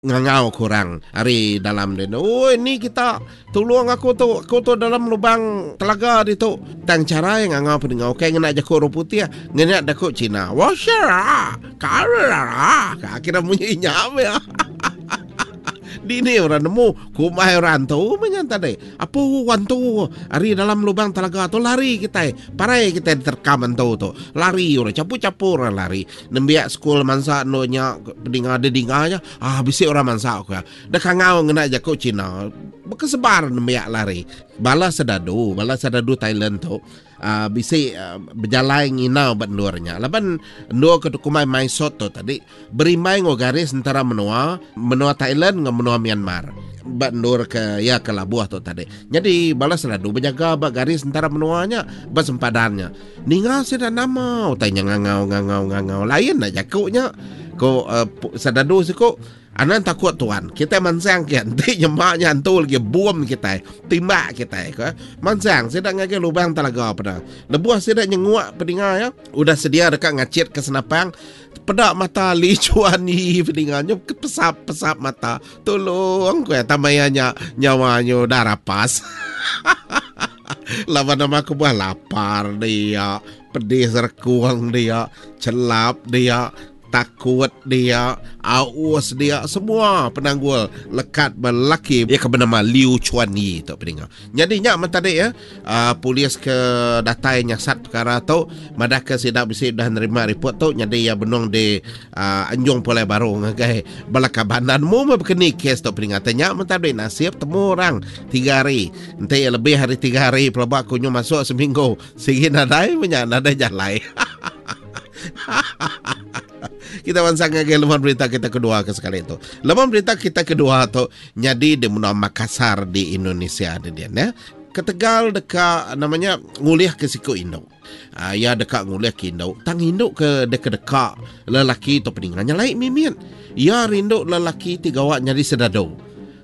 Ngangau ke orang ari dalam din. Oi ni kita tulung aku tu, aku tu dalam lubang telaga ditu. Tang chara iya ngangau peninga ukai ngena jaku orang putih, ngena jaku Cina. Washera, karara, ka kira munyi nya meh. Dini orang nemu kumbai orang antu meh nya tadi. Apu antu ari dalam lubang telaga tu lari kitai. Parai kitai diterkam antu tu. Lari orang chapu-chapu orang lari. Nembiak sekul mansa endur nya pedinga dedinga nya ah bisi orang mansa ku iya. Deh kangau ngena jaku Cina bekesebar nembiak lari. Bala sedadu, bala sedadu Thailand tu aaa bisi bejalai nginau ba endur nya laban endur ke dikumbai Mai Sot tu tadi berimbai enggau garis entara menua, menua Thailand enggau menua Myanmar ba endur ke iya ke labuh tu tadi. Nyadi bala sedadu bejaga ba garis entara menua nya ba sempadan nya. Ninga sida nama utai nya ngangau ngangau ngangau lain enda jaku nya ko uh, sedadu siku anang takut tuan kitai mansang ke enti nyema nya antu lagi bom kitai timbak kitai ko mansang sida ngagai lubang telaga peda lebuh sida nyenguk pedinga ya udah sedia deka ngachit ke senapang peda mata Li Chuan Yi pedinga nyu pesap pesap mata tolong ko ya tamaya nya nyawa nyu dah rapas Laban nama kebuah lapar dia, pedis rekung dia, chelap dia, takut dia, aus dia, semua penanggul lekat ba lelaki iya ke benama Liu Chuan Yi tu peninga. Nyadi nya men tadi ya, uh, polis ke datai nyasat perkara tu madahka sida bisi udah nerima report tu nyadi iya benung di uh, anjung pulai baru ngagai bala kaban dan mu meh bekeni kes tu peninga. Nya men tadi nasib temu orang tiga hari. Enti iya lebih ari tiga hari pelaba aku nyu masuk seminggu sigi nadai menya nadai jalai. Kita bansa ngagai leman berita kita kedua ke sekali tu. Leman berita kita kedua tu nyadi di menua Makassar di Indonesia di dia ya. Ketegal deka namanya ngulih ke siku indu. Uh, iya deka ngulih ke indu. Tang indu ke deka deka lelaki tu peninga nyelai mimit. Iya rindu lelaki ti gawa nyadi sedadu.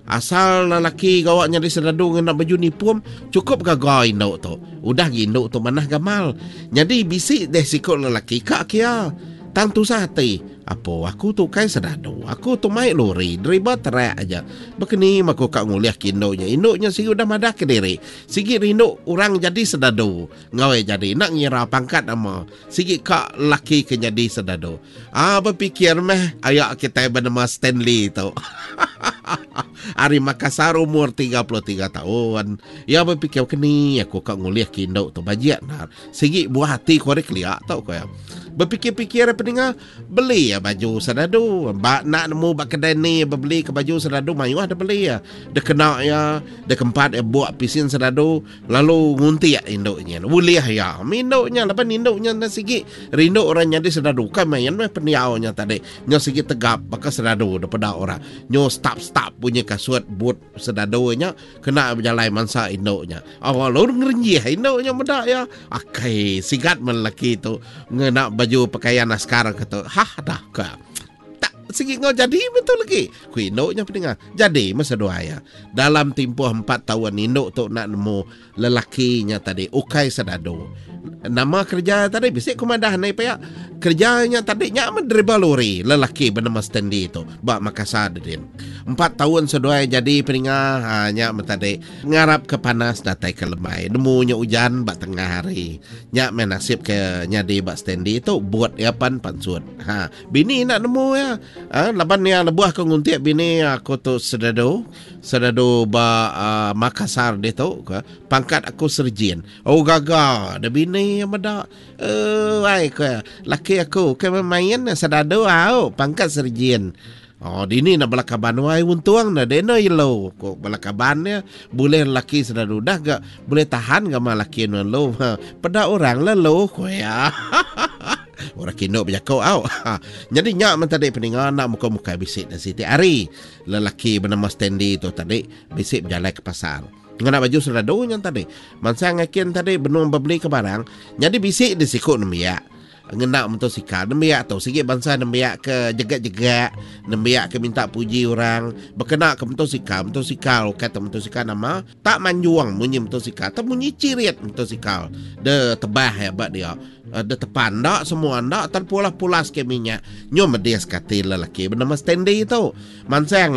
Asal lelaki gawa nyadi sedadu ngena baju nipum, chukup gaga indu tu. Udah gi indu tu manah gamal. Nyadi bisi deh siku lelaki ka kia. Tang tusah ati. Apo aku tu ukai sedadu. Aku tu mai lori, deriba trek aja. Bekeni meh aku ka ngulih ke indu nya. Indu nya sigi udah madah kediri. Sigi rindu orang jadi sedadu. Enggau iya jadi enda ngira pangkat nama. Sigi ka lelaki ke nyadi sedadu. Ah bepikir meh aya kitai benema Stanley tu. Ari Makassar umur 33 taun. Iya bepikir keni aku ka ngulih ke indu tu bajik endar. Sigi buah ati ku ari kelia tu ku iya. Bepikir-pikir peninga beli iya baju sedadu. Ba enda nemu ba kedai ni bebeli ke baju sedadu mayuh da beli iya. Dikena iya, dikempat iya buk pisin sedadu. Lalu nguntik indu nya. Ulih iya. Indu nya laban indu nya enda sigi rindu orang nyadi sedadu. Ukai main meh pendiau nya tadi. Nya sigi tegap baka sedadu da peda orang. Nyu stap-stap bunyi kasut but sedadu nya kena bejalai mansa indu nya. Oh lalu ngerenjih indu nya meda iya. Akai sigat meh lelaki tu ngena baju pakaian askar ke tu. Hah dah ka. Tak sigi enggau jadi betul lagi. Ku indu nya peninga. Jadi meh seduai iya. Dalam timpuh empat taun indu tu enda nemu lelaki nya tadi ukai sedadu. Nama kereja tadi bisi ku madah nei pia. Kereja nya tadi nya meh deriba lori lelaki benama Stanley tu ba Makassar dedin. Empat taun seduai jadi peninga ha nya meh tadi. Ngarap ke panas datai ke lemai. Nemu nya ujan ba tengah hari. Nya meh nasib ke nyadi ba Stanley tu but iya pan pansut. Ha bini enda nemu iya. Ha laban iya lebuh ke nguntik bini aku tu sedadu, sedadu ba uh, Makassar ditu ke pangkat aku serjin. Oh gaga da bini iya meda. Eh ai ke laki aku ke main sedadu au pangkat serjin. Oh dini nak bala kaban wai untung na deno yelo ko bala kaban ya boleh lelaki sedadu dah ga boleh tahan ga ma laki nuan lo ha peda orang la lo ko ya orang kinu bejako au nyadi nya men tadi peninga nak muka mukai bisi dah siti hari lelaki benama Stanley tu tadi bisi bejalai ke pasar ngena baju sedadu nya tadi mansang akin tadi benung bebeli ke barang nyadi bisi di siku nembiak. Ngena motosikal nembiak tu sigi bansa nembiak ke jegak-jegak, nembiak ke minta puji orang bekena ke motosikal, motosikal ukai tu motosikal nama tak manjung munyi motosikal tak munyi cirit motosikal de tebah iya ba dia de tepan enda semua enda terpulas-pulas ke minyak nyu medis ke ati lelaki benama Stanley tu mansang.